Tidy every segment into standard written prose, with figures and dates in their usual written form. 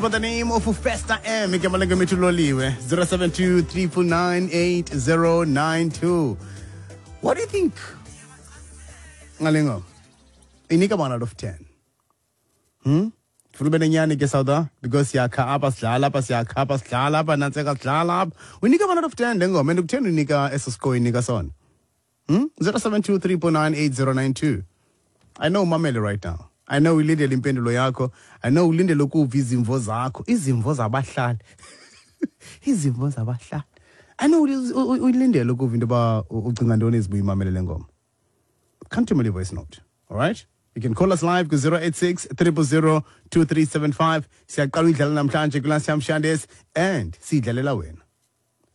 By the name of Festa M, igama lengoma ethi Loliwe, 072 349 8092. What do you think ngale ngoma? Inika 1 out of 10. Funa ube nenyani ke, South, because siyakha apha, sidlala apha, siyakha apha, sidlala apha, nantseka, sidlala apha. Uyinika 1 out of 10 le ngoma, and kutheni unika eso score inika sona? 072 349 8092. I know umamele right now. I know ulindele impendulo yakho. I know ulindele ukuva izimvo zakho, izimvo zabahlali. Izimvo zabahlali. I know uyilindele ukuva into yoba ucinga ntoni ezibuya imamele le ngoma. Come to me voice note. All right? You can call us live ku 086 000 2375. Siyaqala uyidlala namhlanje kuLasiyamshandes and siyidlalela wena.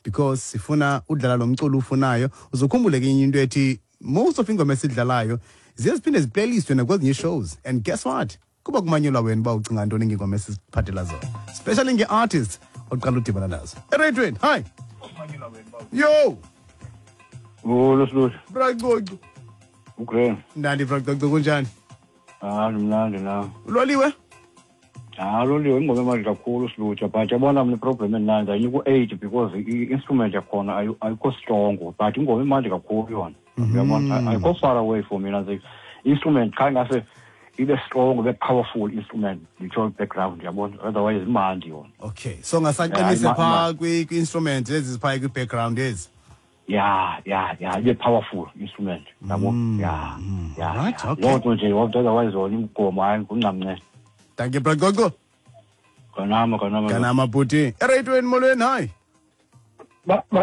Because sifuna udlala lo mculo ufunayo. Uzokhumbule ke into ethi most of ingoma esidlalayo ziye ziphinde ziplaylistwe nakwezinye shows, and guess what, kuba kumanyelwa wena uba ucinga ntoni ngengoma esiziphathela zona, especially nge-artists oqala udibana nazo ereyidweni. Hi, yo. Molo, Siluhle. Bracoco. Ugrand. Mnandi, Bracoco, kunjani? Hayi, mnandi na. Uloliwe. Hayi, loliwe, ingoma emali kakhulu, Silutsha, but yabona mna iproblem endinayo, ndayinika u-8 because i-instrument yakhona ayikho strong, but ingoma imandi kakhulu yona. Uyabona, ayikho far away for mina nje. Instrument kha ngase ibe strong, ibe powerful instrument, nditsho background, yabona. Otherwise imandi yona. Okay, so ngasaqinise phaa kwi-instrument ezi ziphaya kwi-background ezi. Ya, ibe powerful instrument, yabo. Ya. Loo nto nje yodwa, otherwise yona ingoma, hayi, nguncamnce. Thank you, Bracoco. Kanama, kanama. Kanama, bhuti. Ereyidweni, molweni, hayi.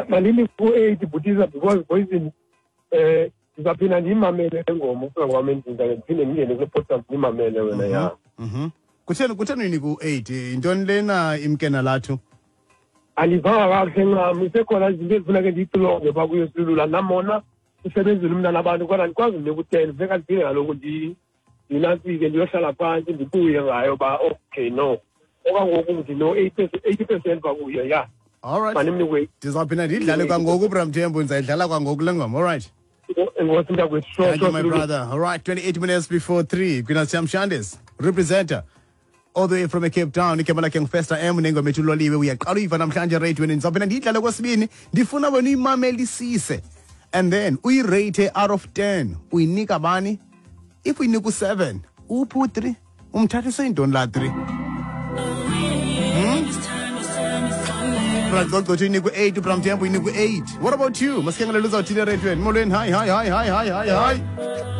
Mandini ku-8, bhutiza, because poison ndizaphinda ndiyimamele le ngoma ufika kwam endlini, ndake ndiphinde ndingene kule podcast ndiyimamele wena, ya. Kutheni uyinika u-8? Yintoni lena imkena lathu? Andivanga kakuhle ncam, isekhona izinto ezifuneke ndiyixilonge phaa kuyo, silula namona usebenzile umntana abantu, kodwa andikwazi ndinika u-10, funeka ndiphinde kaloku ndinantsike, ndiyohlala phantsi, ndibuye ngayo uba okay, no, okwangoku ndino-80% phaa kuyo, ya. All right. Mandimnikwe. Ndizawuphinda ndiyidlale kwangoku, Bramthembu, ndizayidlala kwangoku le ngoma, all right? Enkosi, mntakwethu, sure. Thank you, Sure, my Silulu. brother. All right, 28 minutes before 3. Kwinasiyamshandes, representer all the way from Cape Town. Igama lakhe nguFesta M nengoma ethi Uloliwe. Uyaqala uyiva namhlanje ereyidweni. Ndizawuphinda ndiyidlale kwesibini. Ndifuna wena uyimamelisise. And then uyirate out of 10. Uyinika bani? If uyinika u-7, uphi u-3? Umthathise intoni la 3? Bracoco uyinika u-8, uBramthembu uyinika u-8. What about you? Masikhangele uzawuthini ereyidweni. Molweni, hi, hi, hi, hi, hi, hi, hi.